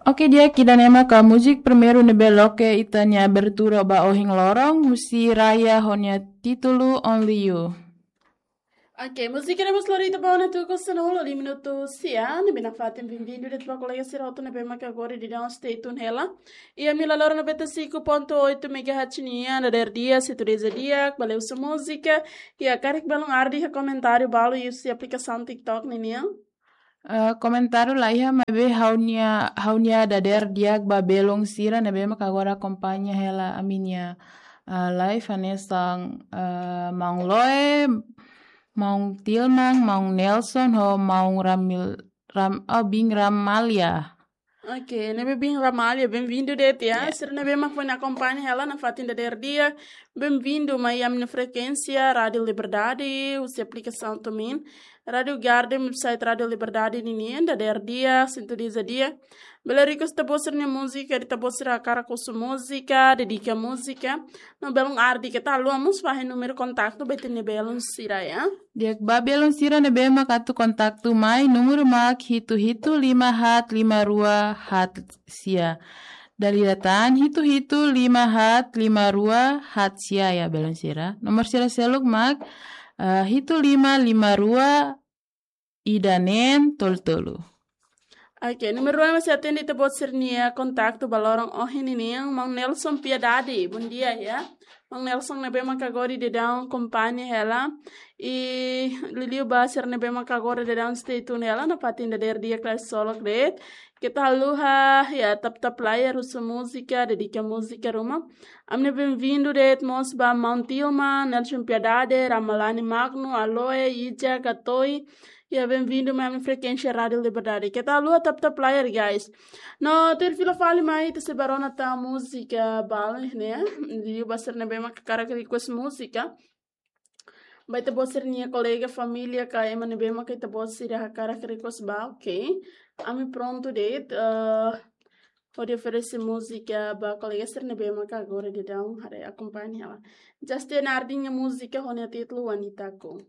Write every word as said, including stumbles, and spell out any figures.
Oke, di'ak, ida-ne'e maka múzika primeiru ne'ebé loke ita-nia abertura ba ohin loron, husi Raya ho nia títulu Only You. Oke, múzika ne'e mós lori ita ba ona tuku sanulu minutu sia, ne'ebé nafatin benvindu de'it ba kolega sira hotu ne'ebé maka agora daudaun stay tune hela. Iha mil loro noventa e cinco ponto oito megahertz nian, dadeer di'ak, sintonia di'ak, ba lee husu múzika, i hakarak balun ardi iha komentáriu balu iha husi aplikasaun TikTok ninian. Eh, komentáriu laiha, maibé ha'u-nia, ha'u-nia dadeer di'ak ba belun sira ne'ebé maka agora akompaña hela ami-nia, eh, live, hanesan, eh, Maun Loe, Maun Tilman, Maun Nelson, ho Maun Ramil, Ram, oh, Bin Ramalia. Oke, ne'ebé Bin Ramalia, benvindu de'it ya. Ya. Sira ne'ebé mak foin akompaña hela nafatin dadeer di'ak, benvindu mai ami-nia frekuénsia Rádio Liberdade, husi aplikasaun TuneIn, Rádio Garden, website Rádio Liberdade ninian, dadeer di'ak, sintonia di'ak. Bele request ita-boot sira-nia múzika, ita-boot sira hakarak husu múzika, dedika múzika, no balun ardi, keta haluha mós fahe númeru kontaktu ba ita-nia belun sira ya. Di'ak, ba belun sira ne'ebé mak atu kontaktu mai, númeru mak hitu hitu lima haat lima rua haat sia. Dala ida tan, hitu hitu lima haat lima rua haat sia ya, belun sira. Nomor sira seluk mak, eh, hitu lima lima rua ida neen tolu tolu. Oke, númeru rua mak sei atende ita-boot sira-nia kontaktu ba loron ohin ninian, Maun Nelson Piedade, bondia ya. Maun Nelson ne'ebé maka agora daudaun akompaña hela. I liuliu ba sira ne'ebé maka agora daudaun stay tune hela, nafatin dadeer di'ak, kla solok de'it. Keta haluha ya, tap tap layar, husu múzika, dedika múzika ruma. Ami-nia benvindu de'it mós ba Maun Tilman, Nelson Piedade, Ramalani Magno, Aloe, Ija, Gatoi. Ya, benvindu mai ami-nia frekuénsia Rádio Liberdade. Keta haluha tap tap layar, guys. No tuir fila fali mai, ita sei bá rona tan múzika balu ne'e. Liuliu ba sira ne'ebé maka hakarak request múzika. Ba ita-boot sira-nia kolega, família, ka ema ne'ebé maka ita-boot sira hakarak request ba, oke. Ami prontu de'it, eh, hodi oferese múzika ba kolega sira ne'ebé maka agora daudaun haree, akompaña hela. Justin Nardin nia múzika ho nia títulu Wanitaku.